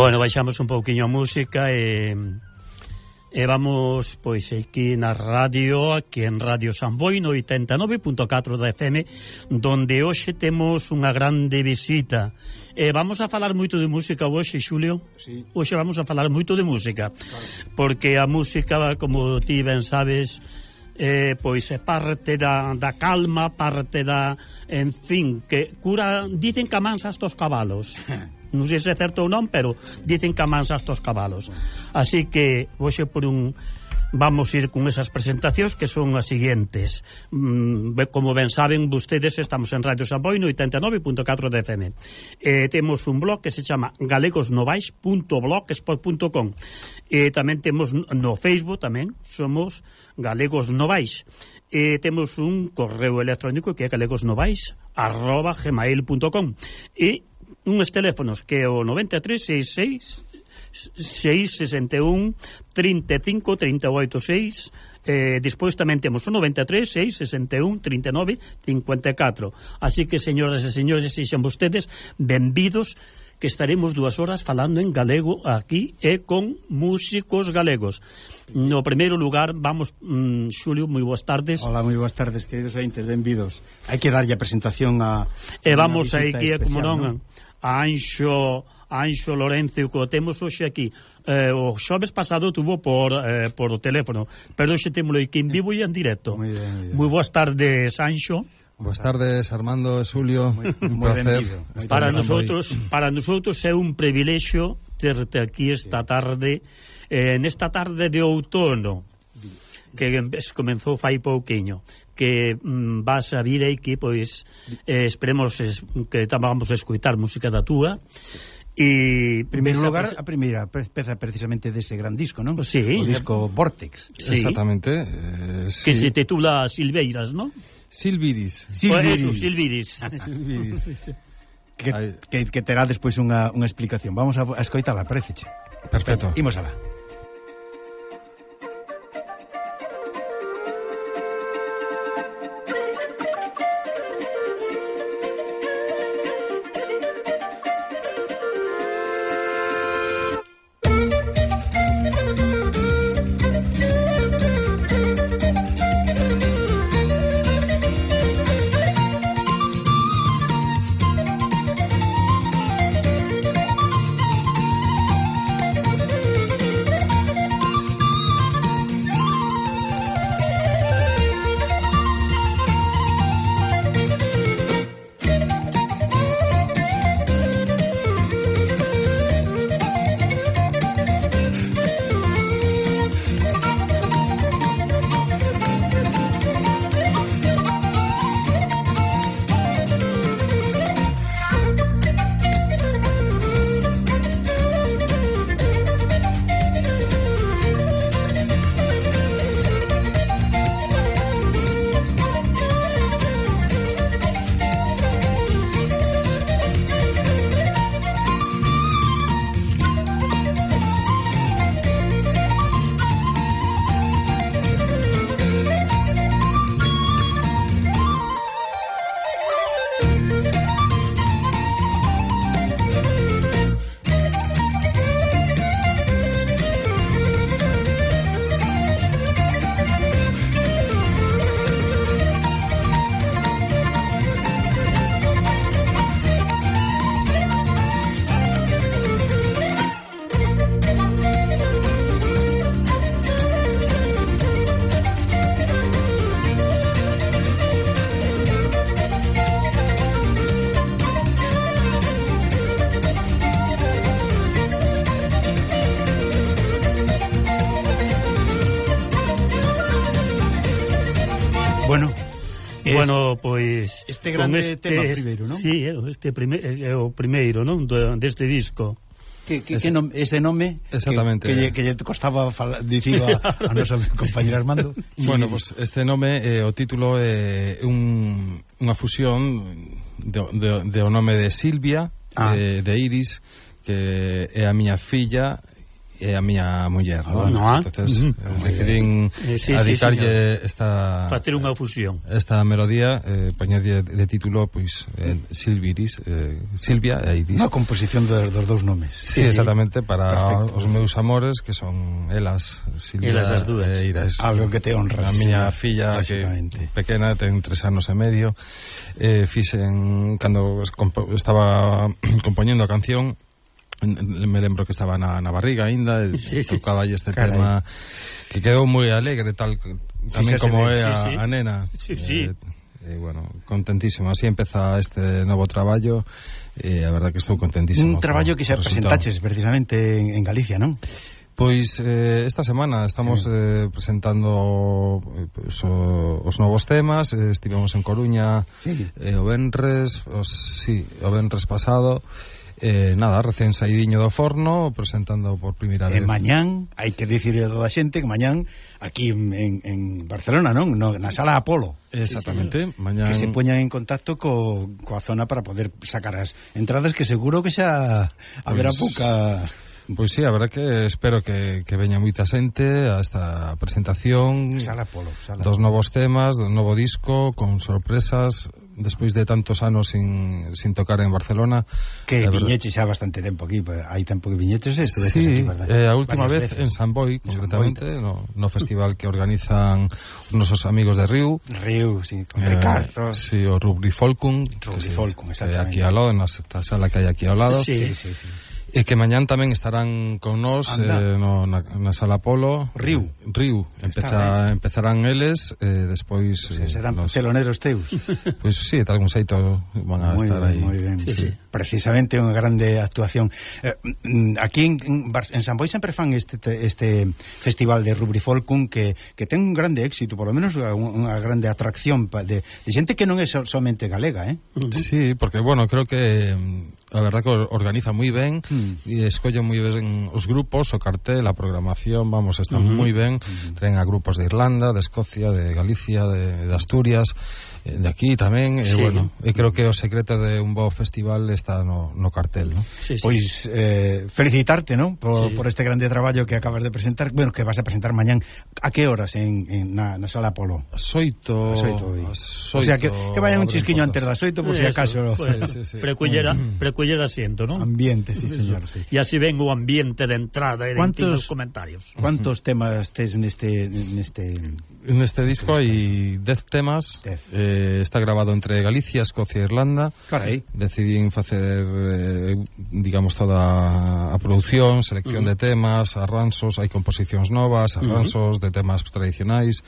Bueno, baixamos un pouquiño a música e vamos, pois, aquí na radio, aquí en Radio Samboy, no 89.4 da FM, donde hoxe temos unha grande visita. Vamos a falar moito de música hoxe, Xulio. Sí. Hoxe vamos a falar moito de música, porque a música, como ti ben sabes, pois é parte da calma, parte da, en fin, que cura, dicen que amansas tos cabalos. Non sei se é certo ou non, pero dicen que amansas tos cabalos. Así que hoxe vamos ir con esas presentacións que son as seguintes. Como ben saben vostedes, estamos en Radio Samboy no 89.4 de FM. Temos un blog que se chama galegosnovais.blogspot.com. Tamén temos no Facebook, tamén somos Galegos Novais. Temos un correo electrónico que é galegosnovais@gmail.com e uns teléfonos que é o 9366 661 35 38 6. Despois tamén temos o 93 661 39 54. Así que, señoras e señores, sexan vostedes benvidos, que estaremos 2 horas falando en galego aquí e con músicos galegos. No primeiro lugar, vamos, Xulio, moi boas tardes. Hola, moi boas tardes, queridos ointes, benvidos. Hai que darlle a presentación a... E vamos aí que, como non, a Anxo Lorenzo, que o temos hoxe aquí. O xoves pasado tuvo por o teléfono, pero hoxe témolo aquí en vivo e en directo. Moi boas tardes, Anxo. Boas tardes, Armando e Xulio. Un placer. Para nosotros é un privilexio terte aquí esta tarde, nesta tarde de outono, que comenzou fai pouquiño, que vas a vir aquí, pois esperemos que vamos a escoitar música da túa. E en primeiro lugar, a primeira peza precisamente dese gran disco, non? Sí. O disco Vortex. Sí. Exactamente. Que se titula Silveiras, non? Silviris. Silviris. Que terá despois unha explicación. Vamos a escoitala, paréceche? Perfecto. Imos alá. Bueno, pois este grande tema primeiro, non? Sí, é o primeiro, non, deste disco. Ese nome exactamente que lle costaba dicir a nosa compañera Armando. Bueno, pues este nome, o título é unha fusión do nome de Silvia, de Iris, que é a miña filla, e a miña muller, entonces decidín dedicarlle esta facer unha fusión, esta melodía, poñerlle de título pois Silvia e Iris, unha composición dos dous nomes. Sí, exactamente, para os meus amores, que son elas, Silvia e Iris. Algo que te honra. A miña filla, que pequena, ten 3 anos e medio, fixen, cando estaba compoñendo a canción, me lembro que estaba na barriga ainda, tocaba este tema que quedou moi alegre, tal tamén como é a nena. Bueno, contentísimo. Así empeza este novo traballo, e a verdad que estou contentísimo. Un traballo que xa presentaches precisamente en Galicia, non? Pois esta semana estamos presentando os novos temas. Estivemos en Coruña o venres pasado. Nada, recén saídiño do forno, presentando por primeira vez. Mañán, hai que dicirle a toda a xente que mañán aquí en Barcelona, non? Na Sala Apolo. Exactamente. Mañán... Que se poñan en contacto coa zona para poder sacar as entradas, que seguro que xa haberá pouca... Pois sí, a verdad que espero que veña moita xente a esta presentación. Sala Apolo. Dos novos temas, do novo disco, con sorpresas, despois de tantos anos sin tocar en Barcelona. Que viñeches xa bastante tempo aquí, hai tempo que viñeches estuveches aquí, verdad? A última vez en San Boi, concretamente, no festival que organizan os nosos amigos de Riu, sí, con Ricardo. Sí, o Rubri Folkun, exactamente. Aquí ao lado, nesta sala que hai aquí ao lado. Sí. E que mañán tamén estarán con nós na Sala Apolo. Riu. Empezarán eles, despois serán teloneros teus. Pois sí, de algún xeito van a estar aí. Moi ben. Sí. Precisamente unha grande actuación. Aquí en San Boi sempre fan este festival de Rubri Folkun que ten un grande éxito, por lo menos unha grande atracción de xente que non é somente galega, Sí, porque, bueno, creo que a verdad que organiza moi ben e escolle moi ben os grupos, o cartel, a programación, vamos, está moi ben. Traen a grupos de Irlanda, de Escocia, de Galicia, de Asturias, de aquí tamén, e bueno, e creo que o secreto de un bo festival está no cartel, ¿no? Pois felicitarte, ¿no? Por este grande traballo que acabas de presentar, bueno, que vas a presentar mañán. A que horas na Sala Apolo? As 8. O sea, que vayan un chisquiño antes das 8, por si acaso. Preculler asiento, ¿no? Ambiente, sí, señor. Sí. E así ven o ambiente de entrada e de comentarios. ¿Cuántos temas tes neste disco? Hai 10 temas. Está grabado entre Galicia, Escocia e Irlanda. Carai. Decidín facer digamos toda a produción, selección de temas, arranxos, hai composicións novas, arranxos de temas tradicionais,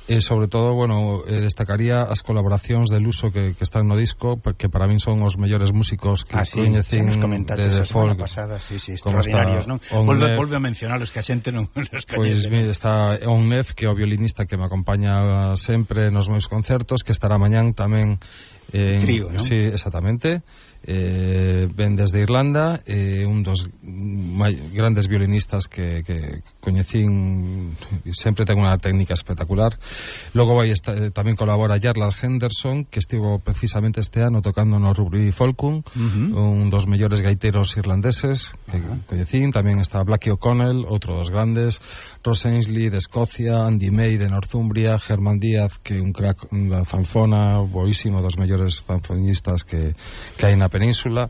e sobre todo, bueno, destacaría as colaboracións de Luso que están no disco, que para min son os mellores músicos que coñecín de folk pasada, extraordinarios, non? Volve a mencionalos que a xente non os coñece. Pois mire, está Onnef, que é o violinista que me acompaña sempre nos meus concertos, que estará mañán tamén trío, non? Sí, exactamente. Ven desde Irlanda, un dos grandes violinistas que coñecín, sempre ten unha técnica espectacular. Logo vai tamén colabora Jarlath Henderson, que estivo precisamente este ano tocando no Rubri Folkun, un dos mellores gaiteros irlandeses que coñecín. Tamén está Blackie O'Connell, outro dos grandes, Ross Ainsley de Escocia, Andy May de Northumbria, Germán Díaz, que é un crack da zanfona, boísimo, dos mellores zanfonistas que hai na península.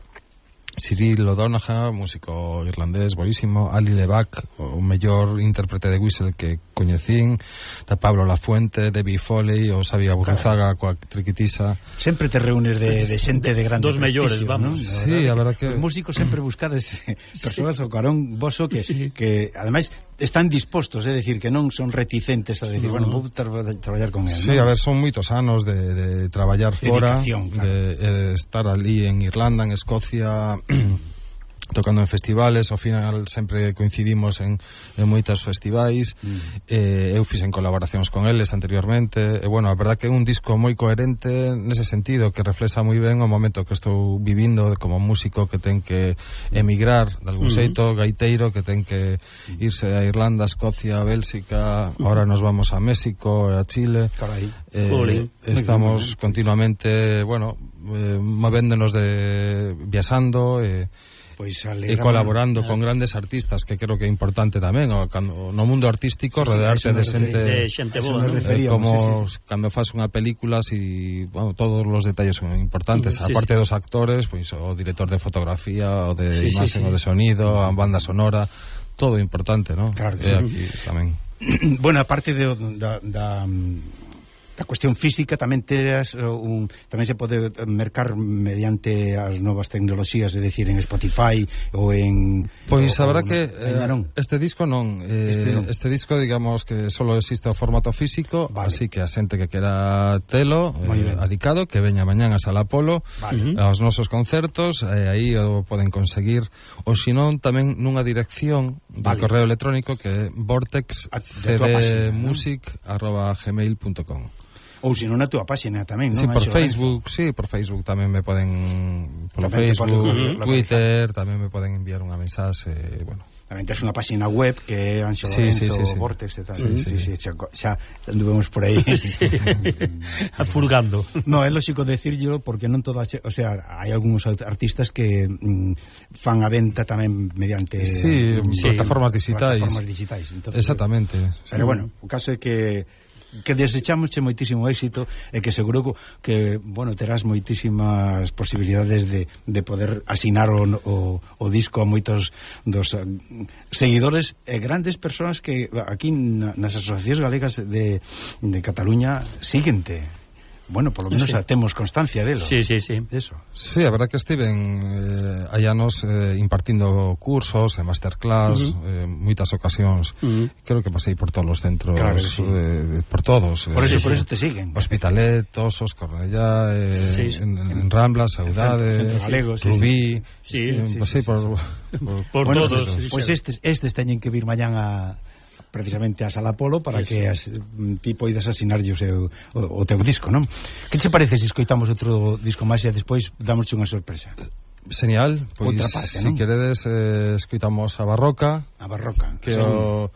Cyril O'Donoghue, músico irlandés boísimo. Ali Levac, o mellor intérprete de whistle que coñecín. Da Pablo Lafuente, Debbie Foley, o Xavi Aburruzaga coa triquitisa. Sempre te reúnes de xente de grande dos mellores, vamos. Sí, a verdad que os músicos sempre buscades persoas ao carón voso que ademais están dispostos, é dicir, que non son reticentes a decir, bueno, vou traballar con él. Sí, a ver, son moitos anos de traballar fora, de estar ali en Irlanda, en Escocia, tocando en festivales. Ao final sempre coincidimos en moitos festivais. Eu fixen colaboracións con eles anteriormente, e bueno, a verdad que é un disco moi coherente nese sentido, que reflexa moi ben o momento que estou vivindo como músico que ten que emigrar de algún xeito, gaiteiro que ten que irse a Irlanda, Escocia, Bélxica, ahora nos vamos a México, a Chile. Estamos continuamente, bueno, movéndonos viaxando, Pois e colaborando con grandes artistas, que creo que é importante tamén, no mundo artístico, rodearte de xente boa, ¿no? Como cando faz unha película, si, bueno, todos os detalles son importantes, aparte dos actores, pois o director de fotografía, o de imagen, o de sonido, a banda sonora, todo importante, ¿no? Claro que aquí tamén. Bueno, aparte da cuestión física, tamén teras tamén se pode mercar mediante as novas tecnoloxías, é dicir, en Spotify ou en... Pois a verdad que este disco non, este disco, digamos que solo existe o formato físico, así que a xente que quera telo adicado, que veña mañán a Sala Apolo, aos nosos concertos, aí o poden conseguir, ou senón tamén nunha dirección de correo electrónico que é vortexcdmusic@gmail.com. Ou se non na túa páxina tamén, non? Sí, por Facebook, por Facebook tamén me poden, polo Facebook, Twitter, tamén me poden enviar unha mensaxe, bueno. Tamén tens unha páxina web que é Anxo Lorenzo, Vortex e tal. Xa anduvemos por aí furgando. No, é lógico decírlo porque non toda, o sea, hai algúns artistas que fan a venta tamén mediante plataformas digitais. Entonces, exactamente. Pero bueno, o caso é que desechamos moitísimo éxito e que seguro que, bueno, terás moitísimas posibilidades de poder asinar o disco a moitos dos seguidores e grandes persoas que aquí nas asociacións galegas de Cataluña síguente. Bueno, por lo menos temos constancia delo. Sí. Eso. Sí, a verdad que estiven hai anos impartindo cursos e masterclass, moitas ocasións. Creo que pasei por todos os centros, por todos. Por eso te siguen. Hospitalet, Osos, Cornellá, en Rambla, Saudade, Rubí. Pasei por todos. Pois estes teñen que vir mañán precisamente a Sala Apolo para que ti poidas asinarlle o teu disco, non? Que te parece se escoitamos outro disco máis e despois damosche unha sorpresa? Genial, pois outra parte, se queredes escoitamos a Barroca, que é o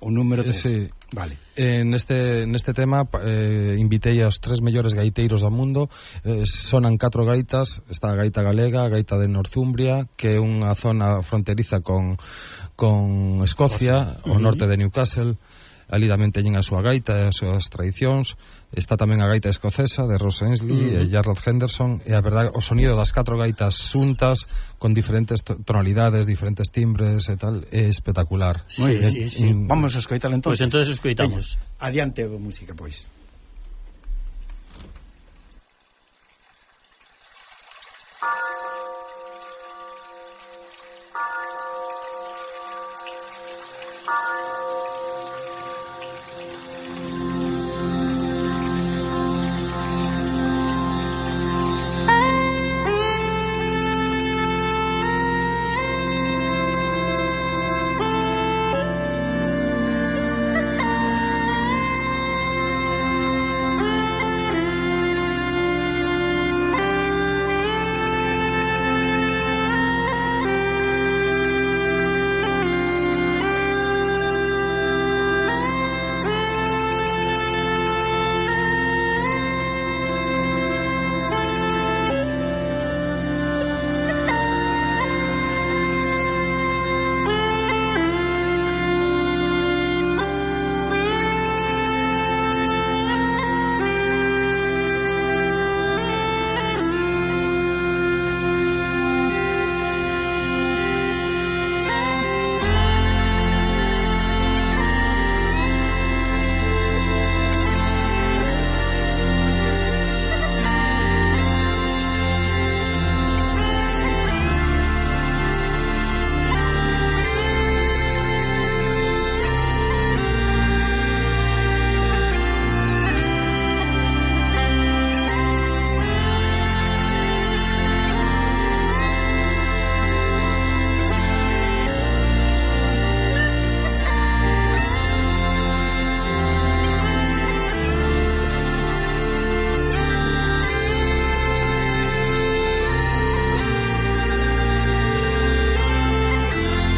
número 3. Vale. Neste tema invitei aos 3 mellores gaiteiros do mundo. Sonan 4 gaitas. Está a gaita galega, a gaita de Northumbria, que é unha zona fronteriza con Escocia, ao norte de Newcastle. Ali tamén teñen a súa gaita e as súas tradicións. Está tamén a gaita escocesa de Ross Ainsley e Jarrod Henderson, e a verdade, o sonido das 4 gaitas xuntas con diferentes tonalidades, diferentes timbres e tal, é espectacular. Sí. Vamos a escoitalo entón. Pois entonces escoitamos. Adiante a música, pois.